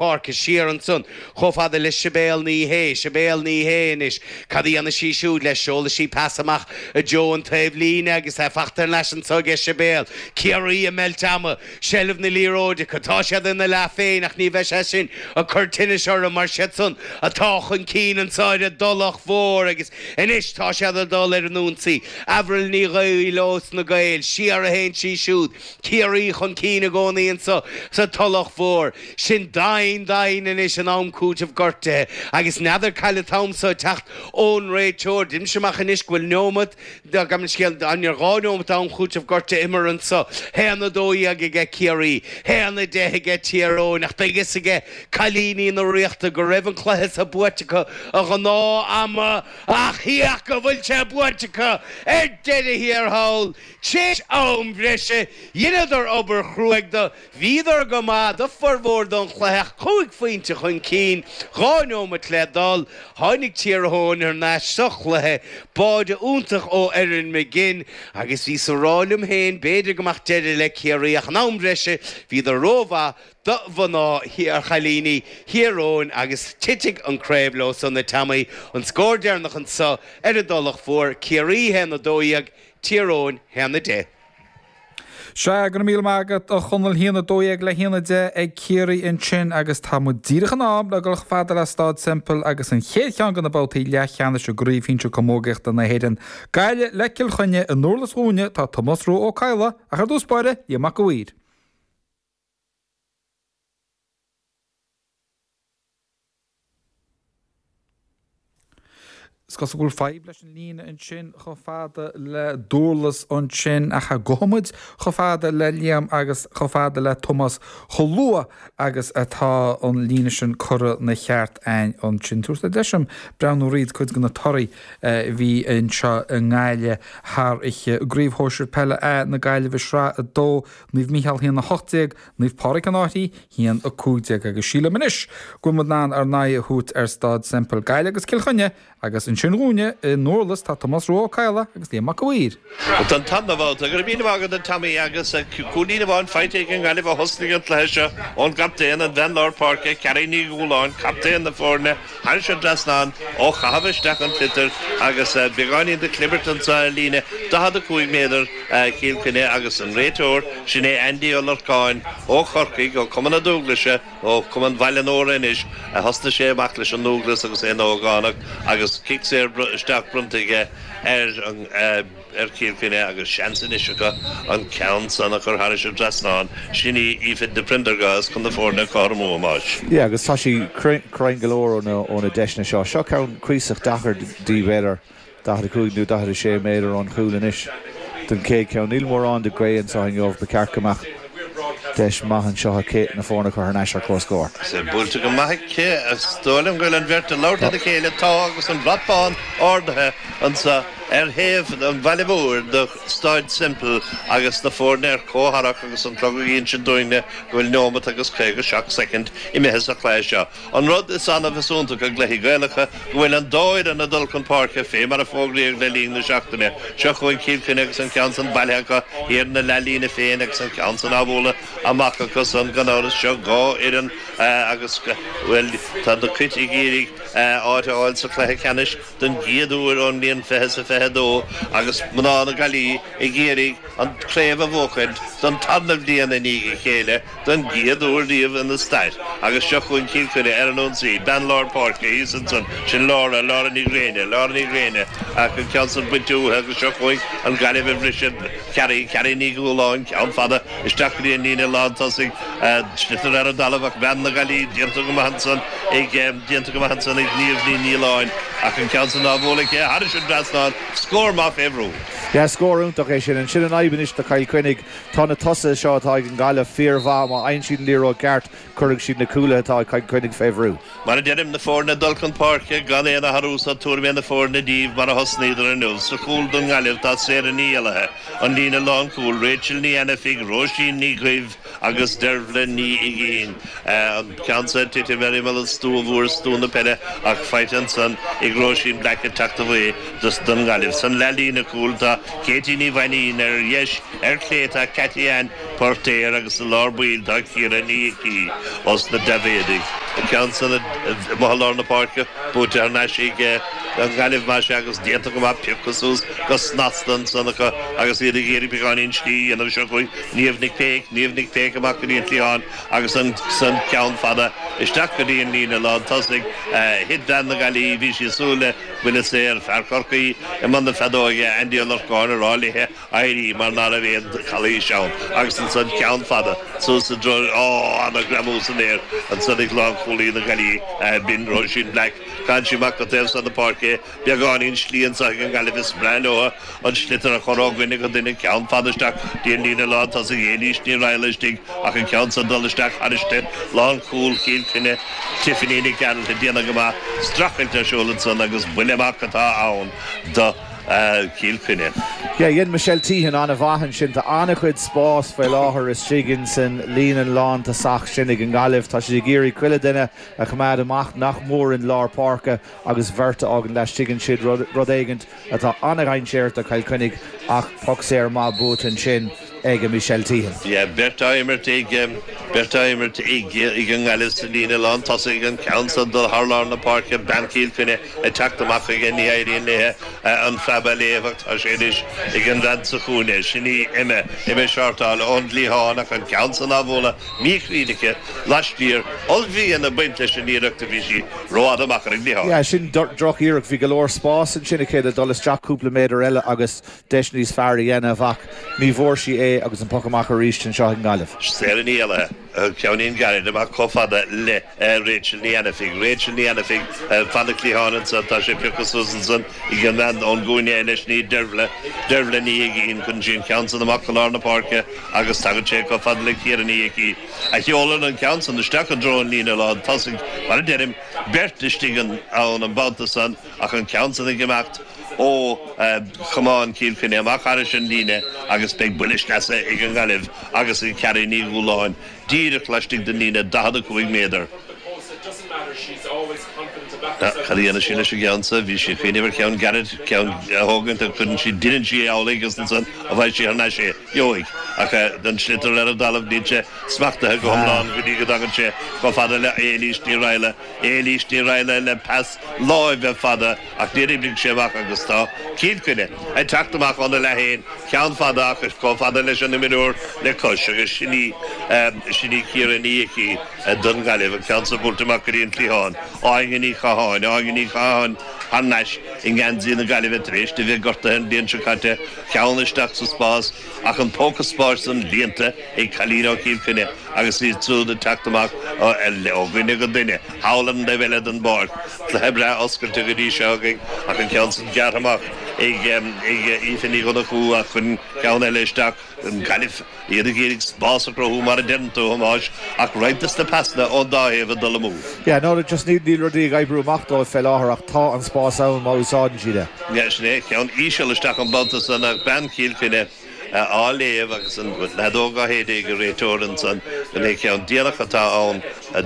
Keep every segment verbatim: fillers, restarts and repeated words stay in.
Páirce siar ansan chomh fada le Sibéal Ní Shé, Sibéal Ní Shé anois, cad a dhéanfaidh sí siúd leis? Seolfaidh sí pas amach i dtreo an taobh líne agus é fachta thar n-ais anso aige Sibéal. Ciarraí ag meilt ama, seilbh na liathróide acu, tá siad ina leath féin ach ní bheidh sé sin ag cur tinnis orthu mar siad san atá chun cinn anso ar an dTulach Mhór agus anois tá siad ag dul ar an ionsaí. Avril Ní Bhaoill ós na Gaeil, siar a théann sí siúd. Ciarraí chun cinn i gcónaí anso sa Tulach Mhór. Sin dain dain anois in am cúitimh gortaithe agus n'fheadar cá bhfuil an t-am so ag teacht ón réiteoir. Deinimse amach anois go bhfuil neomat, gabh mo leithscéal, an dhá neomat am chúitimh gortaithe imeartha anso. Haon a dó dhéag aige Ciarraí, haon a deich aige Tír Eoghain ach beidh fhios aige cailíní na Ríochta go raibh an cluiche so buaite acu a ghnáth ama ach féach go bhfuil sé buaite acu ar deireadh thiar thall. Tréis am bhreise, dheineadar obair chruaidh do bhíodar go maith do formhór don chluiche ach cúig phointe chun cinn, dhá neomat le dul. Tháinig Tír Eoghain thar n-ais sa chluiche, báide iontach ó Erin McGinn agus bhíos a rá liom féin b'fhéidir go mbeadh deireadh le Ciarraí ach in am bhreise bhíodar rómhaith do mhná chailíní Thír Eoghain agus titfidh an craobh leo san a Tommy. An scór deireanach anso ar an dTulach Mhór, Ciarraí haon a dó dhéag, Tír Eoghain haon a deich. Sea, go raibh míle maith agat, a Chonaill, haon a dó dhéag le haon a deich ag Ciarraí ansin agus tá muid díreach in am le dul chomh fada le Staid Semple agus an chéad cheann de na babhtaí leathcheannais i gCraobh Shinsir Camógaíochta na hÉireann. Gaillimh le Cill Chainnigh i nDurlas dhúinne, tá Tomás Rua Ó Cadhla, ach ar dtús báire, Liam Mac a' Mhaoir. Is cosúil go bhfuil fadhb leis an líne ansin chomh fada le Durlas ansin ach gabhfaidh muid chomh fada le Liam agus chomh fada le Tomás chomh luath agus atá an líne sin curtha 'na cheart a'inn ansin. Tabharfaidh deis dom breathnú thríd cuid de na torthaí a bhí anseo i nGaillimh thar oíche. I gCraobh Shóisir Peile A na Gaillimhe Sraith a dó, Naomh Mícheál a haon a hocht déag, Naomh Pádraig an Fhairche, haon a cúig déag agus sílim anois go bhfuil muid in ann ár n-aghaidh a thabhairt ar Staid Semple. Gaillimh agus Cill Chainnigh agus ansin dhúinne i nDurlas tá Tomás Rua Ó Cadhla agus Liam Mac a' Mhaoir. Don tarna babhta, go raibh míle maith agat a Tommy agus cúilín amháin faighte ag an nGaillimh ó thosnaigh an cluiche seo ón gcaptaen, an bhean lár páirce, Carrie Ní Dhúláin, captaen na foirne, thairis an dtrasnán ó chaitheamh isteach an tsliotair agus beagáinín de chlibirt anseo ar líne daichead a cúig méadar Chill Chainnigh agus an réiteoir, sin é Andy Ó Lorcáin ó Chorcaigh, ó Cumann na Dúglaise, ó Cumann Bhaile Nóra anois, a thosnaigh sé amach leis an nDúglas agus é ina ógánach agus cic saor isteach bronnta aige ar an ar Chill Chainnigh agus seans anois acu an ceann san a chur thairis an dtrasnán. Sin í Aoife de Prendergast chun na foirne a chothromú, a Thomáis. Yeah, agus tá sí cruinn go leor ó na deiseanna seo. Seo ceann cuíosach deacair di, b'fhéidir daichead a cúig nó daichead a sé méadar ón chúl anois don chéad cheann. Níl mórán de ghaoth anseo inniu, ba cheart go mbeadh deis maith anseo aici na foirne a chur thar n-ais ar comhscór. Is é buailte go maith aici. Is dóigh liom go bhfuil an bheirt ag labhairt lena chéile. Tá agus an brat bán ardaithe anseo ar thaobh an bhaile mhóir de Staid Semple agus na foirne ar comhtharrac agus an clog ag insint dúinne go bhfuil neomat agus caoga seacht soicind imithe sa chluiche seo. An rud is annamh is iontach i gcluichí Gaelacha go bhfuil an dá fhoireann ag dul chun páirce fé mar a fógraíodh le linn na seachtaine. Seo chugainn Cill Chainnigh agus an ceann san bailithe acu thiar ina leathlíne féin agus an ceann san á bhualadh amach acu san gan amhras. Seo dhá fhoireann agus, bhuel, tá na Cait ag iarraidh áit a fháil sa chluiche ceannais don gcéad uair ón mbliain fiche is a fiche dó agus mná na Gaillimhe ag iarraidh an chraobh a bhuachaint don tarna bhliain i ndiaidh a chéile don gcéad uair riamh ina stair agus seo chugainn Cill Chainnigh ar an ionsaí, bean lár páirce thíos ansan, sin Laura, Laura Ní Ghréine, Laura Ní Ghréine ach an ceann san bainte uaithi agus seo chugainn an Ghaillimh ag briseadh, Carrie, Carrie Ní Dhúláin, ceann fada isteach go dtí an líne lán tosaigh, sliotar ar an dtalamh ach bean na Gaillimhe déanta go maith ansan ag, déanta go maith ansan ag Niamh Ní Nialláin ach an ceann san á bhualadh aici thairis an dtrasnán, scór maith fé bhrú. Yeah, scór iontach é sin. Sin an fhadhb anois do Chill Chainnigh. Tá na tosaithe seo atá ag an nGaillimh fíormhaith. Má fhaigheann siad an liathróid ceart, cuirfidh siad na cúlaithe atá ag Cill Chainnigh fé bhrú. Mar a deirim, na foirne ag dul chun páirce gan aon athrú sa tuairim aon foirne díobh mar a thosnaíodar inniu. Sa chúl don nGaillimh tá Sarah Ní Éallaithe, an líne lánchúil, Rachel Ní Ainifigh, Róisín Ní Dhuibh agus Dervla Ní Uiginn. An ceann seo ag titim ar imeall an stua mhóir, stua na peile, ach faighte ansan ag Róisín Black ag teacht away don nGaillimh. San leathlíne cúil tá Katie Ní Mhainín ar dheis ar chlé tá Cathy Ann Portéir agus sa lár baill tá Ciara Ní Icí os na Daibhéadaigh. An ceann san i lár na páirce buaite thar n-ais ag an Ghaillimh más ea agus déanta go maith pioctha suas go snasta ansan acu agus iad ag iarraidh beagáinín slí a dhéanamh seo chugainn Niamh Nic Péic, Niamh Nic Péic amach go dtí an cliathán agus ansan ceann fada isteach go dtí an líne lán tosaigh. Thit bean na Gaillimhe, bhí sí ag súil le buille saor, fear Chorcaí i mbun na feadóige, Andy Ó Lorcáin ag rá léithe éirí mar ná raibh aon chalaois ann agus ansan ceann fada suas i dtreo, á, ana-ghreamú san aer ansan ag lánchúlaí na Gaillimhe, b'in Róisín Black. Caitheann sí amach go taobh san na páirce é, beagáinín slí anso ag an nGaillimh is breá leo an sliotar a chur ó dhuine go duine, ceann fada isteach dtí an líne lán tosaigh, Éilís Ní Raghallaigh istigh ach an ceann san dul isteach thairis lánchúl Chill Chainnigh, Tiffany Nic Gearailt ag déanamh go maith, streachailt ar siúl ansan agus buille amach atá ann do Chill Chainnigh. Yeah, dhein Michelle Teehan an-mhaith ansin. Tá an-chuid spás faoi láthair istigh insan líne lántosach sin ag an nGaillimh. Tá siad ag iarraidh chuile duine a choimeád amach nach mór in lár páirce agus beirt a fhágann laistigh ansin, rud éigint atá an-dhainséarach do Chill Chainnigh ach poc saor maith buaite ansin ag Michelle Teehan. Yeah, beirt á imirt ag beirt á imirt ag ag an nGaillimh sa líne lán tosaigh an ceann san dul thar lár na páirce bean Chill Chainnigh ag teacht amach chuige ní éiríonn léithe an preab a léamh ach tá sé anois ag an bhean sa chúinne sin í Emma Emma Shortall ón gcliathán ach an ceann san á bhualadh míchruinn aici laistiar ollmhian ag baint leis an iarracht a bhí sí rófhada amach ar an gcliathán. Yeah, sin droch-iarracht bhí go leor spás ansin aici le dul isteach cúpla méadar eile agus deis níos fearr a dhéanamh ach ní bhfuair sí é agus an poc amach arís anseo ag an nGaillimh. Sarah Ní Éalaithe, ceannín gairid amach chomh fada le Rachel Ní Ainifigh. Rachel Ní Ainifigh fan na cliatháin ansan, tá sé pioctha suas ansan ag an bhean ón gcúinne eile, sin í Dervla, Dervla Ní Uiginn, cuireann sí an ceann san amach go lár na páirce agus tagann sé chomh fada le Ciara Ní Icí a sheolann an ceann san isteach i dtreo an líne lán tosaigh. Mar a deirim, beirt istigh ann an babhta san ach an ceann san ag imeacht ó chamán Chill Chainnigh amach thairis an líne agus beidh buille sleasa ag an nGaillimh agus ag Carrie Ní Dhúláin díreach laistigh den líne daichead a cúig méadar. Cad a dhéanfaidh sí leis an gceann sa? Bhí sí ag cuimhneamh ar cheann gairid, ceann a thógaint ach cuireann sí, deineann sí amhlaidh agus ansan a bhfaighidh sí thar n-ais é, gheobhaidh. Ach an sliotar ar an dtalamh níl sé smachtaithe go hiomlán go dtí go dtagann sé chomh fada le Éilís Ní Raghallaigh. Éilís Ní Raghallaigh le pas láimhe fada ach níor oibrigh sé amach agus tá Cill Chainnigh ag teacht amach óna leath féin, ceann fada ach chomh fada leis an imreoir le cois agus sin í, sin í Ciara Ní Icí don Ghaillimh, an ceann san buailte amach go dtí an cliathán. Áine Ní Chatháin, Áine Ní Chatháin thar n-ais i ngeansaí na Gaillimhe tar éis di bheith gortaithe an bhliain seo caite, ceann isteach sa spás ach an póca spáis san líonta ag cailín ó Chill Chainnigh agus iad siúd ag teacht amach ó dhuine go duine thall ar an dtaobh eile den bpáirc. Cluiche breá oscailte go dtí seo againn ach an ceann san gearrtha amach ag Aoife Ní Dhonnchú ach an ceann eile isteach an Ghaillimh, iad ag iarraidh spás a chruthú mar a deireann tú, a Thomáis, ach roinnt des na pasanna ón dá thaobh ag dul amú. Yeah, no, just níl níl rudaí ag oibriú amach dóibh fé láthair ach tá an spás ann má úsáideann siad é. Yeah, sin é, ceann íseal isteach an babhta san ach bean Chill Chainnigh á léamh agus an fheadóg á shéideadh ag an réiteoir ansan go mbeidh ceann déanach atá ann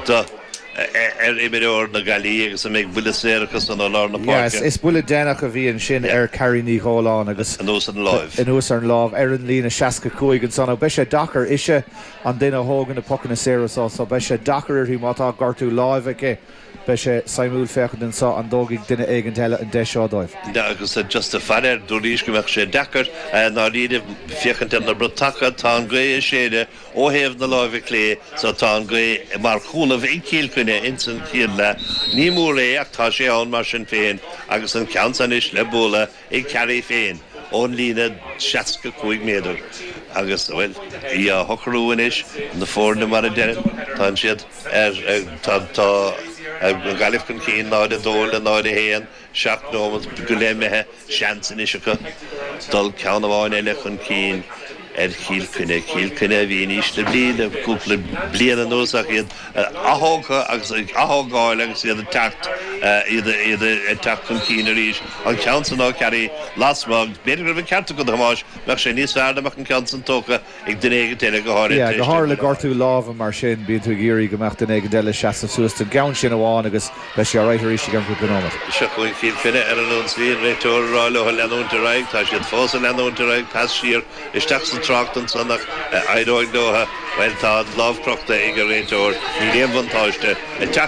do ar imreoir na Gaillimhe agus an mbeidh buille saor acu san ó lár na Yes, páirce. is buille déanach a bhí ansin ar Carrie Ní Dhóláin agus Anuas ar an láimh. Anuas ar an láimh ar an líne seasca cúig ansan. Beidh sé deacair ise an duine a thógann na pocanna saora so, so beidh sé deacair uirthi má tá gortú láimhe aici. Beidh sé suimiúil féachaint anso an dtógfaidh duine éigint eile an deis seo dóibh. Agus just ag faire air, dúraís go mbeadh sé deacair ndáiríre féachaint ar na bratacha, tá an ghaoth ag séideadh ó thaobh na láimhe clé so tá an ghaoth mar chúnamh ag Cill Chainnigh ins an chéad leath. Ní mór é ach tá sé ann mar sin féin agus an ceann san anois le bualadh ag Carrie féin ón líne seasca cúig méadar agus, bhuel, í á shocrú anois, na foirne mar a deirim, tá siad ar, tá, tá an Ghaillimh chun cinn náid a dó le náid a haon, seacht nóiméad go leith imithe, seans anois acu dul ceann amháin eile chun cinn. ar Chill Chainnigh Cill Chainnigh a bhí in ísle brí le cúpla bliain anuas ach iad atógtha agus ag atógáil agus iad ag teacht iad iad ag teacht chun cinn arís an ceann san ó Carey lasmuigh b'fhéidir go raibh an ceart agat a Thomáis bheadh sé níos fearr dá mbeadh an ceann san tógtha ag duine éigin eile go háirithe Yeah, go háirithe le gortú láimhe mar sin bíonn tú ag iarraidh go mbeadh duine éigin eile seasamh suas don gceann sin amháin agus beidh sé alright arís i gceann cúpla nóiméad. Seo chugainn Cill Chainnigh ar an ionsaí an réiteoir ag rá leo leanúint ar aghaidh tá siad fós ag leanúint ar aghaidh pas siar isteach sa trácht ansan ach éireoidh leo well tá lámh crochta ag an réiteoir níl aon bhuntáiste ag teacht